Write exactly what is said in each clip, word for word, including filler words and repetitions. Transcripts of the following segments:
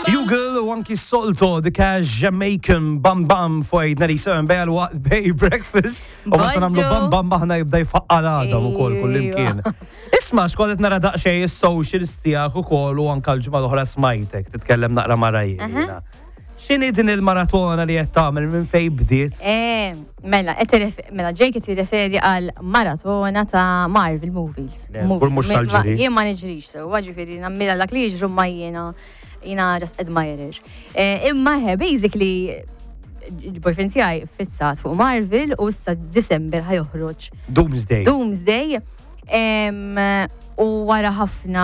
Bugle u anki Solto, the Cash Jamaican Bam Bam fuq ninety-seven bejn waqt bej breakfast. U meta nagħmlu Bonġu. bam bam aħna jibda jfaqqa' l-għadam ukoll kullimkien. Isma', x'kont nara daqsxejn is-socials tiegħek ukoll u anka l-ġimgħa l-oħra smajtek titkellem naqra ma' Rajna. X'inhi din il-maratona li qed tagħmel, minn fejn bdiet? Eh, mela, qed tirref- mela, Jake qed jirreferi għal maratona ta' Marvel movies. Le, żgur mhux Movies. Ma- tal-ġiri. Jien ma niġrix so, ġifieri nammira dak li jiġru ma jiena jiena just admirer. Eh, Imma he, basically, il-boyfriend tiegħi fissat fuq Marvel u issa December ħa joħroġ Doomsday. Doomsday. Em, U wara ħafna,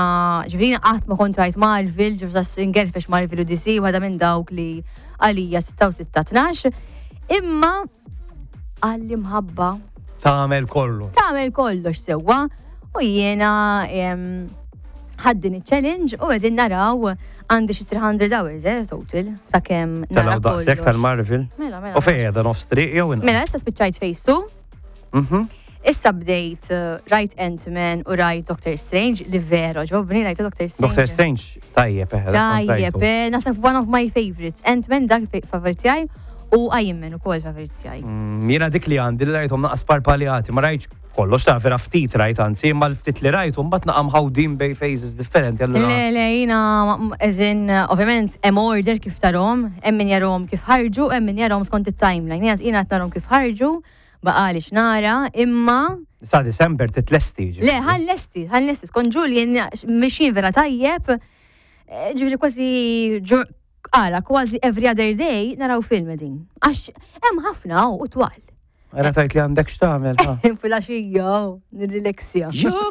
ġifieri qatt ma kont rajt Marvel, ġifieri ingerfex Marvel u D C, waħda minn dawk li għalija sitta u sitta tnax. Imma għalli mħabba Tagħmel kollu. Tagħmel kollox sewwa u jiena em, ħaddin il-challenge u qegħdin naraw, għandi xi three hundred hours eh, total sakemm nara Telaw daqshekk kollox. tal-Marvel. Mela, mela. U fejn qiegħda, nofs triq jew inqas? Mela, issa spiċċajt Phase two. Mhm. Issa bdejt uh, rajt Ant-Man u rajt Doctor Strange li vera għoġobni, rajt Doctor Strange. Doctor Strange tajjeb, eh. Tajjeb, eh, naħseb one of my favorites. Ant-Man dak favorit tiegħi u Iron Man ukoll favorit tiegħi. Mm, Jiena dik li għandi li rajthom naqas parpaljati, ma rajtx kollox ta' vera, ftit rajt anzi, imma l-ftit li rajt mbagħad naqa' mħawdin bej phases differenti allura. Le, le, jiena, eżin, ovvjament, hemm order kif tarahom, hemm min jarahom kif ħarġu, hemm min jarahom skont it-timeline. Jiena jiena qed narahom kif ħarġu, baqali x'nara, imma Sa December titlesti, ġifieri. Le, ħa nlesti, ħa nlesti, skont Julian mexjin vera tajjeb, eh, ġifieri kważi, ġur- għala, kważi every other day naraw film din. Għax hemm ħafna u twal. Ara tajt li għandek x'tagħmel, ha. Filgħaxija, nirrilassja. You